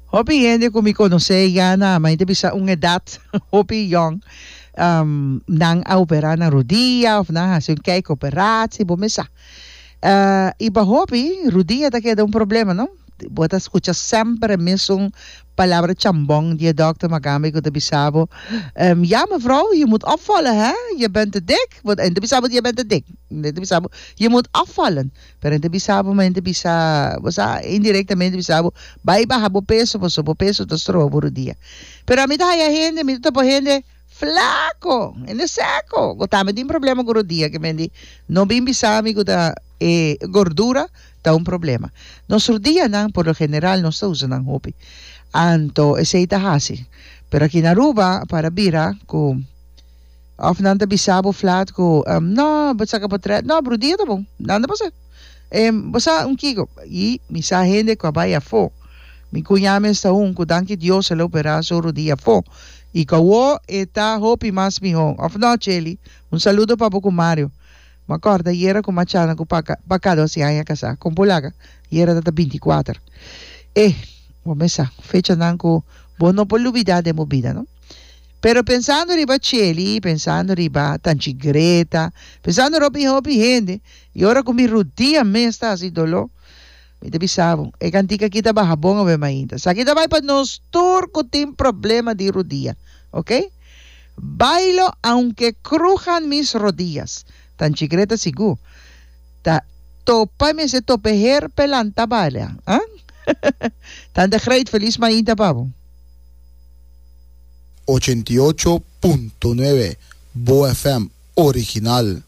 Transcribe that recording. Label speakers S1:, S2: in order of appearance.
S1: Hopi hende ku mi konosé ya na mi ta bisa un edat hopi yòn nan a operá nan rudia òf nan a hasi un kijkoperatie bo mes sa. I pa hopi rudia ta keda un problema no. Bo ta skucha semper e mesun palabra chambon di e dòkter makambe ku ta bisa bo ya mevrouw je moet afvallen hè je bent te dik bo e ta bisa bo je bent te dik e ta bisa bo je moet afvallen. Pero e ta bisa bo, ma e ta bisa, bo sa, indirectamente bisa bo, bai baha bo peso, pasobra bo peso ta stroba bo rudia. Pero ami ta haya hende, mi ta topa hende flaco, hende seco, cu tambe tin problema cu rudia, ke men di, no bin bisa mi cu ta e gordura ta un problema. Nos rudianan, por lo general, nos ta usa nan hopi. Anto, esey ta haci. Pero aki na Aruba, para bira cu. Of nan ta bisa bo flat ku no bo saka potret no brudia ta bon nan ta pasa bo sa un kiko i mi sa hende ku a bai afó mi kuñá mes ta un ku danki Dios el a operá su rudia afó i ku awó e ta hopi mas mihó of no Cheli un saludo pa bo ku Mario mi a kòrda ayera ku machana ku paka pa kada osi aña kasá kon por laga ayera ta ta binti kuater e bo mes sa fechanan ku bo no por lubidá den bo bida no. Pero pensando riba Cheli, pensando riba Tanchi Greta, pensando ropi hopi hende, y ora cu mi rudia mes ta haci dolor, mi ta bisa bo, e cantica aki ta baha bon awe mainta. Esaki ta bay pa nos tur cu tin problema di rudia, ok? Bailo aunque crujan mis rodillas. Tanchi Greta sigur ta topa y mester topa e her p'e lanta baila, ah? Tante Greet, feliz mainta pa bo.
S2: 88.9 Bo FM original.